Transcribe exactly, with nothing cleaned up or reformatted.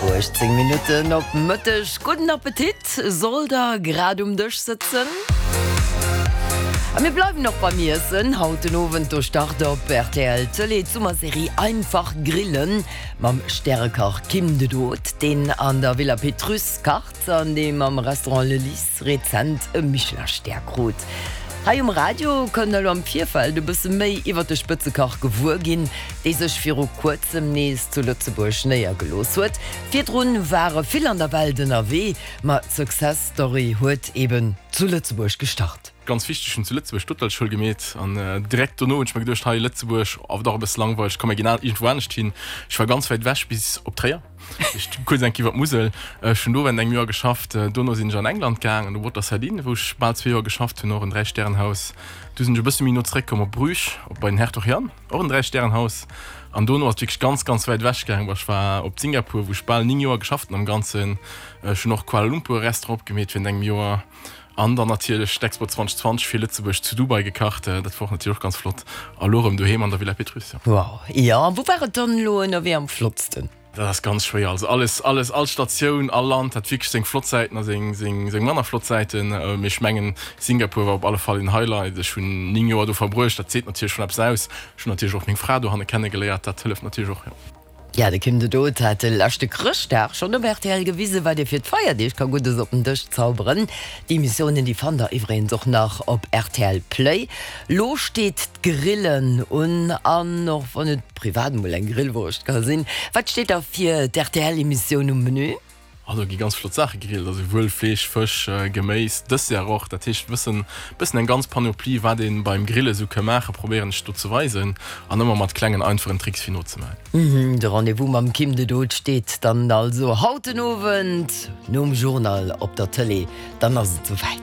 Uechtzéng Minutten op Mëtteg. Gudden Appetit, sollt der grad um Dësch sëtzen. A mir bleiwen och beim Iessen. Haut den Owend do start op rtl Tëlee d'Summerserie Einfach grillen mam Stärekach Kim de Dood, deen an der Villa Pétrusse kacht an dee mam Restaurant Le Lys rezent e Michelin-Stär krut. Hei um Radio kënnt der elo am Virfeld e bësse méi iwwer de Spëtzekach gewuer ginn, dee sech viru kuerzem nees zu Lëtzebuerg néiergelooss huet. Virdrun war e vill an der Welt ënnerwee, ma d'Success Story huet eben zu Lëtzebuerg gestart. Ganz wichteg, ech hunn zu Lëtzebuerg d'Hotelschoul gemeet an direkt dono hunn ech mer geduecht, hei Lëtzebuerg, awer dach e bësse langweileg, komm mir ginn iergendwou anescht hin. Ech war ganz wäit ewech bis op Tréier. Ech kuerz eng Kéier iwwer d'Musel. Ech hunn do während engem Joer geschafft. Dono sinn ech an England gaang, an de Waterside Inn, wou ech bal zwee Joer geschafft hunn, och en Dräistärenhaus. Du sinn ech e bësse méi no zeréckkomm op Bruges, op bei den Hertog Jan, och en Dräistärenhaus. An dono ass et wierklech ganz, ganz wäit ewech gaang. Ech war op Singapur, wou ech bal néng Joer geschafft hunn am Ganzen. Ech hunn och Kuala Lumpur e Restaurant opgemeet während engem Joer. An dann natierlech d'Expo zwanzeg zwanzeg fir Lëtzebuerg zu Dubai gekacht. Dat war och natierlech och ganz flott. A lo erëm doheem an der Villa Pétrusse. Wow, jo. A wou war et dann elo ënnerwee am flottsten? Dat ass ganz schwéier. Also alles, alles, all Statioun, all Land hat wierklech seng flott Säiten a seng, seng, seng manner flott Säiten. Mee ech mengen, Singapur war op alle Fall een Highlight. Ech hunn néng Joer do verbruecht, dat seet natierlech schonn eppes aus. Ech hunn natierlech och meng Fra dohanne kennegeléiert, dat hëlleft natierlech och, jo. Ja, de Kim de Dood hat de leschte Chrëschtdag schonn op rtl gewisen, wat ee fir d'Feierdeeg ka Guddes op den Dësch zauberen. Déi Emissiounen, déi fannt der iwwregens och nach op rtl Play. Lo steet d'Grillen un an och wann et privat emol eng Grillwurscht ka sinn, wat steet da fir d'RTL-Emissioun um Menü? Ah, do gi ganz flott Saache gegrillt, also wuel Fleesch, Fësch, Geméis, Dessert och. Dat heescht e bëssen, bëssen eng ganz Panoplie, wat ee beim Grille sou ka maachen, probéieren ech do ze weisen an ëmmer mat klengen einfachen Tricks fir nozemaachen. De Rendez-vous mam Kim de Dood steet dann also haut den Owend nom Journal op der Tëlee. Dann ass et souwäit.